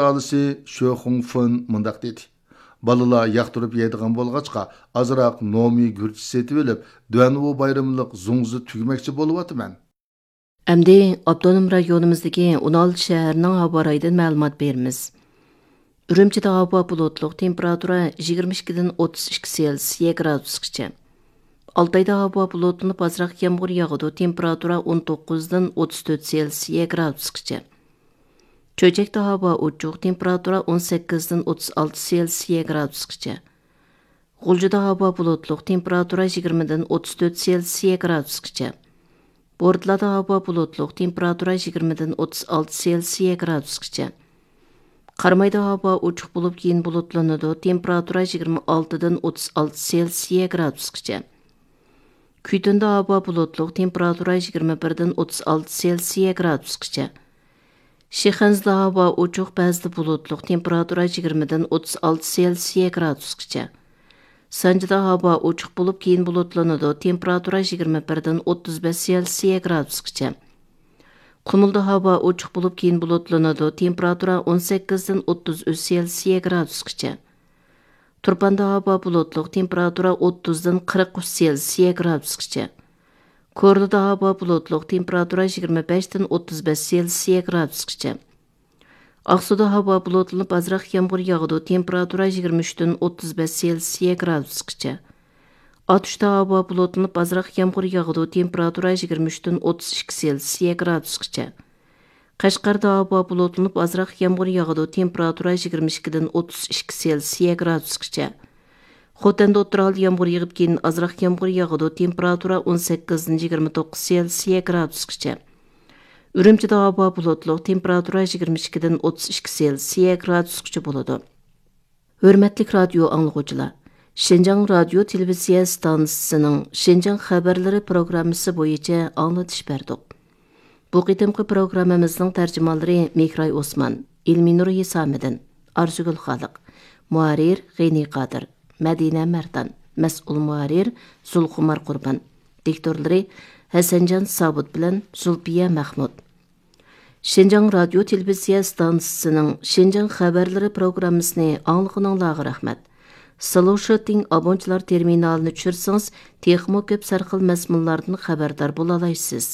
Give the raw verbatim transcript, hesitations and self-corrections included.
ئالىسى شۆ خۇڭفېن مۇنداق دېدى: بالىلار ياقتۇرۇپ يەيدىغان بولغاچقا، ئازراق نومى گۈرچە سېتىۋېلىپ، دۇەنۋۇ بايرىملىق زۇڭزى تۈگمەكچى بولۇۋاتىمەن. ئەمدى ئاپتونوم رايونىمىزدىكى ئون ئالتە شەھەرنىڭ ھاۋا رايىدىن مەلۇمات بېرىمىز. ئۈرۈمچىدە ھاۋا بۇلۇتلۇق، تېمپېراتۇرا يىگىرمە ئىككىدىن ئوتتۇز ئىككى سېلسىيە گرادۇسقىچە. ئالتايدا ھاۋا بۇلۇتلىنىپ، ئازراق يامغۇر ياغىدۇ، تېمپېراتۇرا ئون توققۇزدىن ئوتتۇز تۆت سېلسىيە گرادۇسقىچە. چۆچەكتە ھاۋا ئوچۇق، تېمپېراتۇرا ئون سەككىزدىن ئوتتۇز ئالتە سېلسىيە گرادۇسقىچە. غۇلجىدا ھاۋا بۇلۇتلۇق، تېمپېراتۇرا يىگىرمىدىن ئوتتۇز تۆت سېلسىيە گرادۇسقىچە. بورتلادا ھاۋا بۇلۇتلۇق، تېمپېراتۇرا يىگىرمىدىن ئوتتۇز ئالتە سېلسىيە گرادۇسقىچە. قارامايدا ھاۋا ئوچۇق بولۇپ، كېيىن بۇلۇتلىنىدۇ، تېمپېراتۇرا يىگىرمە ئالتىدىن ئوتتۇز ئالتە سېلسىيە گرادۇسقىچە. كۈيتۈندە ھاۋا بۇلۇتلۇق، تېمپېراتۇرا يىگىرمە بىردىن ئوتتۇز ئالتە سېلسىيە گرادۇسقىچە. شىخەنزىدە ھاۋا ئوچۇق، بەزىدە بۇلۇتلۇق، تېمپېراتۇرا يىگىرمىدىن ئوتتۇز ئالتە سېلسىيە گرادۇسقىچە. سانجىدا ھاۋا ئوچۇق بولۇپ، كېيىن بۇلۇتلىنىدۇ، تېمپېراتۇرا يىگىرمە بىردىن ئوتتۇز بەش سېلسىيە گرادۇسقىچە. قۇمۇلدا ھاۋا ئوچۇق بولۇپ، كېيىن بۇلۇتلىنىدۇ، تېمپېراتۇرا ئون سەككىزدىن ئوتتۇز ئۈچ سېلسىيە گرادۇسقىچە. تۇرپاندا ھاۋا بۇلۇتلۇق، تېمپېراتۇرا ئوتتۇزدىن قىرىق ئۈچ سېلسىيە گرادۇسقىچە. كورلىدا ھاۋا بۇلۇتلۇق، تېمپېراتۇرا يىگىرمە بەشتىن ئوتتۇز بەش سېلسىيە گرادۇسقىچە. ئاقسۇدا ھاۋا بۇلۇتلىنىپ، ئازراق يامغۇر ياغىدۇ، تېمپېراتۇرا يىگىرمە ئۈچتىن ئوتتۇز بەش سېلسىيە گرادۇسقىچە. ئاتۇشتا ھاۋا بۇلۇتلىنىپ، ئازراق يامغۇر ياغىدۇ، تېمپېراتۇرا يىگىرمە ئۈچتىن ئوتتۇز ئىككى سېلسىيە گرادۇسقىچە. قەشقەردە ھاۋا بۇلۇتلىنىپ، ئازراق يامغۇر ياغىدۇ، تېمپېراتۇرا يىگىرمە ئىككىدىن ئوتتۇز ئىككى سېلسىيە گرادۇسقىچە. خوتەندە ئوتتۇرا ھالدا يامغۇر يېغىپ، كېيىن ئازراق يامغۇر ياغىدۇ، تېمپېراتۇرا ئون سەككىزدىن يىگىرمە توققۇز سېلسىيە گرادۇسقىچە. ئۈرۈمچىدە ھاۋا بۇلۇتلۇق، تېمپېراتۇرا يىگىرمە ئىككىدىن ئوتتۇز ئىككى سېلسىيە گرادۇسقىچە بولىدۇ. ھۆرمەتلىك رادىيو ئاڭلىغۇچىلار، شىنجاڭ رادىيو تېلېۋىزىيە ئىستانسىسىنىڭ شىنجاڭ خەۋەرلىرى پروگراممىسى بويىچە ئاڭلىتىش بەردۇق. بۇ قېتىمقى پروگراممىمىزنىڭ تەرجىمانلىرى مېھراي ئوسمان، ئىلمىنۇر ھېسامىدىن، ئارزۇگۈل خالىق، مۇھەررىر غېنى قادىر، مەدىنە مەردان، مەسئۇل مۇھەررىر زۇلخۇمار قۇربان، دىكتورلىرى ھەسەنجان سابىت بىلەن زۇلپىيە مەخمۇت. شىنجاڭ رادىيو تېلېۋىزىيە ئىستانسىسىنىڭ شىنجاڭ خەۋەرلىرى پروگراممىسىنى ئاڭلىغىنىڭلارغا رەھمەت. سلوشىتىڭ ئابونچىلار تېرمىنالىنى چۈشۈرسىڭىز، تېخىمۇ كۆپ سەرخىل مەزمۇنلاردىن خەۋەردار بولالايسىز.